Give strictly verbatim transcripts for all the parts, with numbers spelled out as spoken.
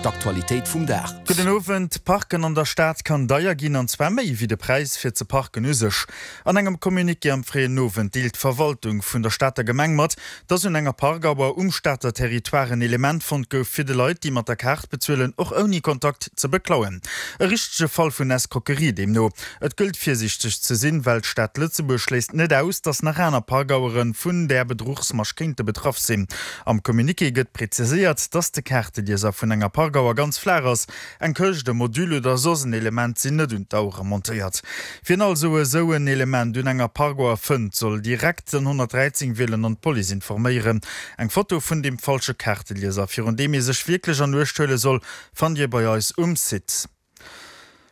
D'Aktualitéit vum Dag. Gudden Owend. Parken an der Stad kann deier ginn, an zwar méi wéi de Präis fir ze parken u sech. An engem Communiqué am fréien Owend deelt d'Verwaltung vun der Stater Gemeng mat, dass un enger Parkauer um Stater Territoire en Element fonnt gouf, fir de Leit, déi mat der Kaart bezuelen, och ouni Kontakt ze beklauen. E richtege Fall vun Escroquerie deemno. Et gëllt virsiichteg ze sinn, well d'Stad Lëtzebuerg schléisst net aus, dass nach aner Parkauere vun där Bedruchsmasch kéinte betraff sinn. Am Communiqué gëtt preziséiert, dass de Kaartelieser vun enger Parkauer ganz flaach ass, eng Këscht, e Module oder soss en Element sinn net un d'Auere montéiert. Wien also esou en Element un enger Parkauer fënnt, soll direkt den honnertdräizéng wielen an d'Police informéieren. Eng Foto vun deem falsche Kaartelieser, virun deem ee sech wierklech an Uecht huele soll, fannt Dir bei eis um Site.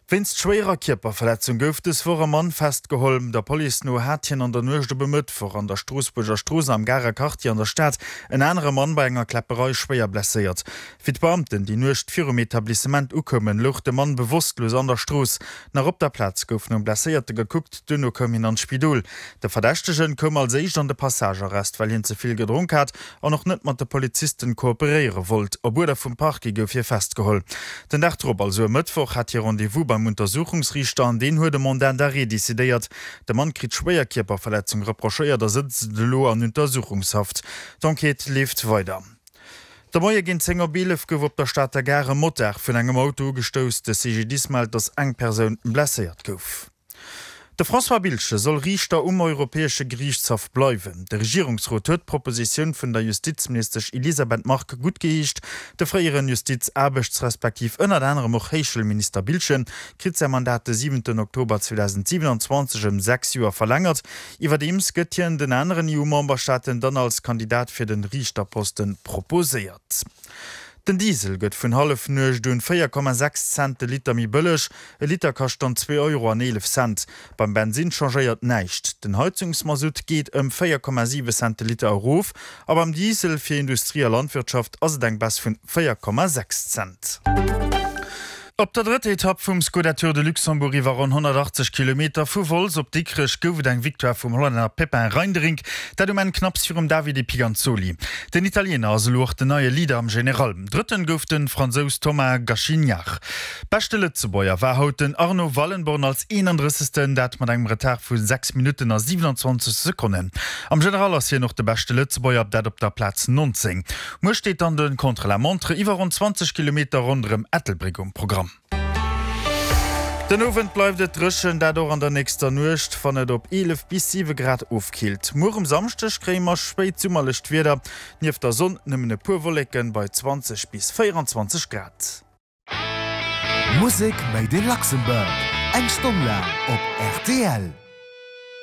Wéinst schwéierer Kierperverletzung gouf dës Woch e Mann festgeholl. Der Police no hat hien an der Nuecht op e Mëttwoch an der Stroossbuerger Strooss am Garer Quartier an der Stad en anere Mann bei enger Kläpperei schwéier blesséiert. Wéi d'Beamten déi Nuecht virum Etablissement ukoumen, louch de Mann bewosstlos an der Strooss. Nach op der Plaz gouf nom Blesséierte gekuckt, duerno koum hien an d'Spidol. De Verdächtegen koum als éischt an de Passagearrest, well hien ze vill gedronk hat an och net mat de Polizisten kooperéiere wollt. Op Uerder vum Parquet gouf hie festgeholl. Den Dag drop, also e Mëttwoch, hat hie Rendez-vous beim Untersuchungsriichter an deen huet e Mandat d'arrêt decidéiert. De Mann kritt schwéier Kierperverletzung reprochéiert a sëtzt elo an Untersuchungshaft. D'Enquête leeft weider. De Moie géint zéng op eelef gouf op der Stater Gare e Motard vun engem Auto ugestouss. De C G D I S mellt, datt eng Persoun blesséiert gouf. De François Biltgen soll Riichter um Europäesche Geriichtshaff bleiwen. De Regierungsrot huet d'Propositioun vun der Justizministesch Elisabeth Margue guttgeheescht. De fréieren Justiz-, Aarbechts respektiv ënnert anerem och Héichschoulminister Biltgen kritt säi Mandat de siwenten Oktober zweedausendsiwenanzwanzeg ëm sechs Joer verlängert. Iwwerdeems gëtt hien den aneren E U-Memberstaaten dann als Kandidat fir de Riichterposten proposéiert. Den Diesel gëtt vun Hallefnuecht un véier Komma sechs Cent de Liter méi bëlleg, e Liter kascht dann zwee Euro an eelef Cent. Beim Bensinn changéiert näischt. Den Heizungsmasutt geet ëm véier Komma siwe Cent de Liter erof a beim Diesel fir Industrie a Landwirtschaft ass et eng Baisse vun véier Komma sechs Cent. Op der drëtter Etapp vum Skoda Tour de Luxembourg iwwer ronn honnertachtzeg Kilometer vu Wolz op Dikrech gouf et eng Victoire vum Hollänner Pepijn Reinderink, dat um Enn knapps virum Davide Piganzoli. Den Italiener ass elo och den neie Leader am General. Drëtten gouf de Fransous Thomas Gachignard. Beschte Lëtzebuerger war haut den Arno Wallenborn als eenandrëssegsten, dat mat engem Retard vu sechs Minutten a siwenanzwanzeg Sekonnen. Am General ass hien och de beschte Lëtzebuerger, dat op der Plaz nonzéng. Muer steet dann de Contre-la-montre iwwer ronn zwanzeg Kilometer ronderëm Ettelbréck um Programm. Den Owend bleift et dréchen, dat och an der nächster Nuecht, wann et op eelef bis siwe Grad ofkillt. Muer um Samschdeg kréie mer spéitsummerlecht Wieder, nieft der Sonn nëmmen e puer Wolleken, bei zwanzeg bis véieranzwanzeg Grad. Musek made in Luxembourg, eng Stonn laang op R T L.